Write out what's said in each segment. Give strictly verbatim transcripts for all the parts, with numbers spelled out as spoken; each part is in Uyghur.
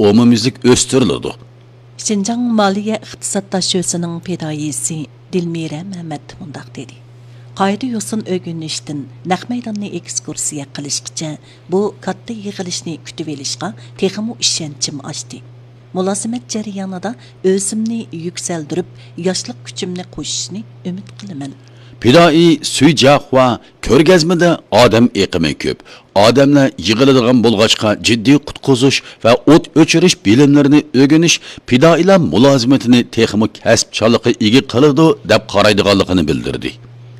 ئومۇميۈزلۈك ئۆستۈرۈلىدۇ. شىنجاڭ مالىيە ئىقتىساد داشۆسىنىڭ پىدائىيسى دىلمىرە مەمەت مۇنداق دېدى: قائىدە يوسۇن ئۆگىنىشتىن، نەق مەيداننى ئېكسكۇرسىيە قىلىشقىچە، بۇ كاتتا يىغىلىشنى كۈتۈۋېلىشقا تېخىمۇ ئىشەنچىم ئاشتى. مۇلازىمەت جەريانىدا ئۆزۈمنى يۈكسەلدۈرۈپ، ياشلىق كۈچۈمنى قوشۇشنى ئۈمىد قىلىمەن. پىدائىي سۈي جياخۇا كۆرگەزمىدە ئادەم ئېقىمى كۆپ، ئادەملەر يىغىلىدىغان بولغاچقا، جىددىي قۇتقۇزۇش ۋە ئوت ئۆچۈرۈش بىلىملىرىنى ئۆگىنىش پىدائىيلار مۇلازىمىتىنى تېخىمۇ كەسىپچانلىققا ئىگە قىلىدۇ، دەپ قارايدىغانلىقىنى بىلدۈردى.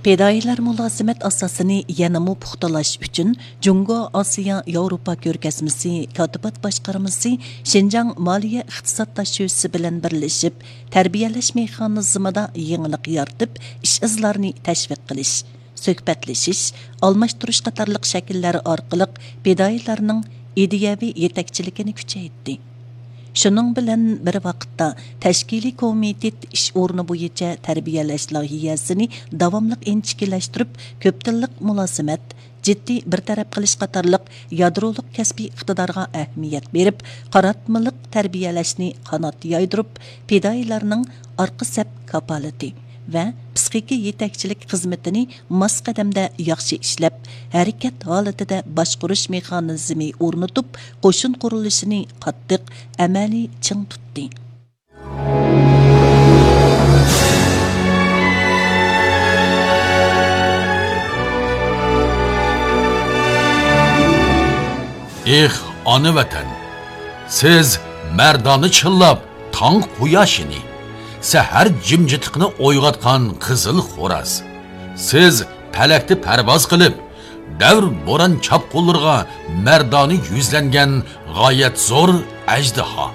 پىدائىيلار مۇلازىمەت ئاساسىنى يەنىمۇ پۇختىلاش ئۈچۈن، جۇڭگو ئاسىيا ياۋروپا كۆرگەزمىسى كاتىبات باشقارمىسى شىنجاڭ مالىيە ئىقتىساد داشۆسى بىلەن بىرلىشىپ، تەربىيەلەش مېخانىزمىدا يېڭىلىق يارىتىپ، ئىش-ئىزلارنى تەشۋىق قىلىش، سۆھبەتلىشىش، ئالماشتۇرۇش قاتارلىق شەكىللەر ئارقىلىق پىدائىيلارنىڭ ئىدىيەۋى يېتەكچىلىكىنى كۈچەيتتى. شۇنىڭ بىلەن بىر ۋاقىتتا، تەشكىلىي كومىتېت ئىش ئورنى بويىچە تەربىيەلەش لايىھەسىنى داۋاملىق ئىنچىكىلەشتۈرۈپ، كۆپ تىللىق مۇلازىمەت، جىددىي بىر تەرەپ قىلىش قاتارلىق يادرولۇق كەسپىي ئىقتىدارغا ئەھمىيەت بېرىپ، قاراتمىلىق تەربىيەلەشنى قانات يايدۇرۇپ، پىدائىيلارنىڭ ئارقا سەپ كاپالىتى ۋە پىسخىكا يېتەكچىلىك خىزمىتىنى ماس قەدەمدە ياخشى ئىشلەپ، ھەرىكەت ھالىتىدە باشقۇرۇش مېخانىزمى ئورنىتىپ، قوشۇن قۇرۇلۇشىنى قاتتىق، ئەمەلىي چىڭ تۇتتى. ئېھ، ئانا ۋەتەن! سىز مەردانە چىللاپ، تاڭ قۇياشىنى، سەھەر جىمجىتلىقىنى ئويغاتقان قىزىل خوراز. سىز پەلەكتە پەرۋاز قىلىپ، دەۋر بوران چاپقۇنلىرىغا مەردانە يۈزلەنگەن غايەت زور ئەجدىھا.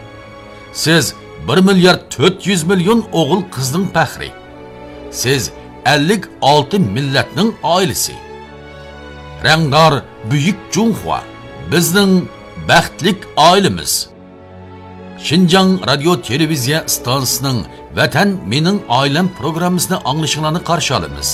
سىز بىر مىليارد تۆت يۈز مىليون ئوغۇل قىزنىڭ پەخرى. سىز ئەللىك ئالتە مىللەتنىڭ ئائىلىسى. رەڭدار بۈيۈك جۇڭخۇا، بىزنىڭ بەختلىك ئائىلىمىز. شىنجاڭ رادىيو تېلېۋىزىيە ئىستانسىسىنىڭ ۋەتەن مېنىڭ ئائىلەم پروگراممىسىنى ئاڭلىشىڭلارنى قارشى ئالىمىز.